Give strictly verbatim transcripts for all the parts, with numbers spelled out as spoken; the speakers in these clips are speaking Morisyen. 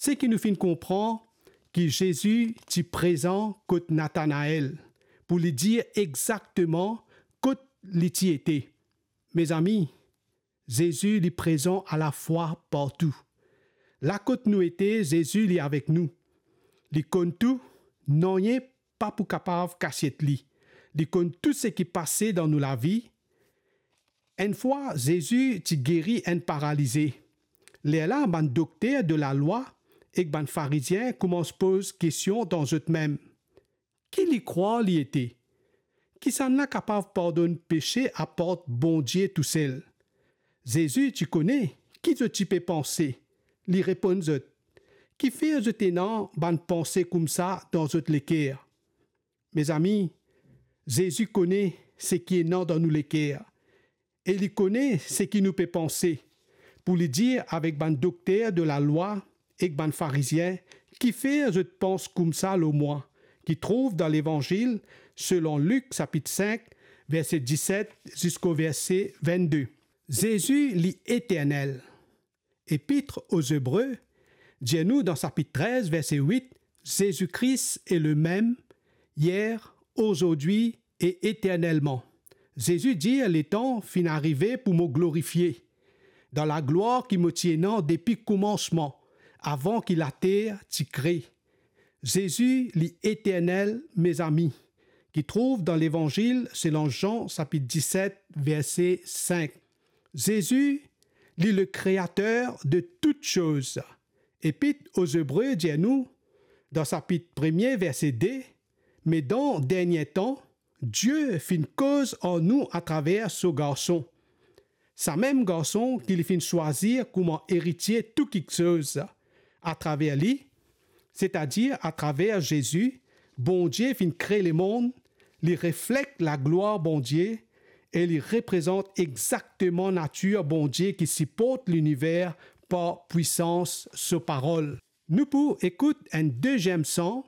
Seki nou finn konpran ki Zezi ti prezan kot Natanael pou li dir exakteman kot li ti ete. Mezami, Zezi li prezan alafwa partou. La kot nou ete, Zezi li avek nou. Li konn tou, nanye pa pou kapav kasiet li. Li konn tou seki pase dan nou lavi. Enn fwa, Zezi ti geri enn paralize. Lerla bann dokter de lalwa ek bann Farizien koumans poz kestion dan zot mem. Ki li krwar li ete? Kisannla kapav pardonn pese apar Bondie tousel? Zezi ti kone ki zot ti pe panse. Li reponn zot, "Kifer zot ena bann panse koumsa dan zot leker?" Mezami, Zezi kone seki ena dan nou leker e li kone seki nou pe panse. Pou li dir avek bann dokter de lalwa ek bann Farizien, "Kifer zot pans koumsa lor mwa?" ki trouv dan Levanzil selon Lik sapit sink, verse diset ziska verse vennde. Zezi li eternel. Epit o Zebre dir nou dan sapit trez, verse wit, "Zezi Kris est le mem hier, aujourd'hui et éternellement." Zezi dir, "Letan finn arive pou mo glorifie dan laglwar ki mo ti ena depi koumansman, avan ki later ti kre." Zezi li eternel, mezami, ki trouv dan Levanzil selon Zan sapit diset, verse sink. Zezi li le kreater de tout soz. Epit o Zebre dir nou, dan sapit premie, verse de, "Me dan dernie tan, Die finn koz ar nou atraver so Garson. Samem Garson ki li finn swazir kouma eritie tou kiksoz. Atraver li, setadir atraver Zezi, Bondie finn kre lemond, li reflekt laglwar Bondie e li reprezant exakteman natir Bondie ki siport liniver par pwisans so parol. Nou pou ekout enn deziem san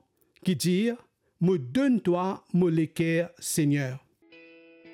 ki dir, "Mo donn twa mo leker, Segner."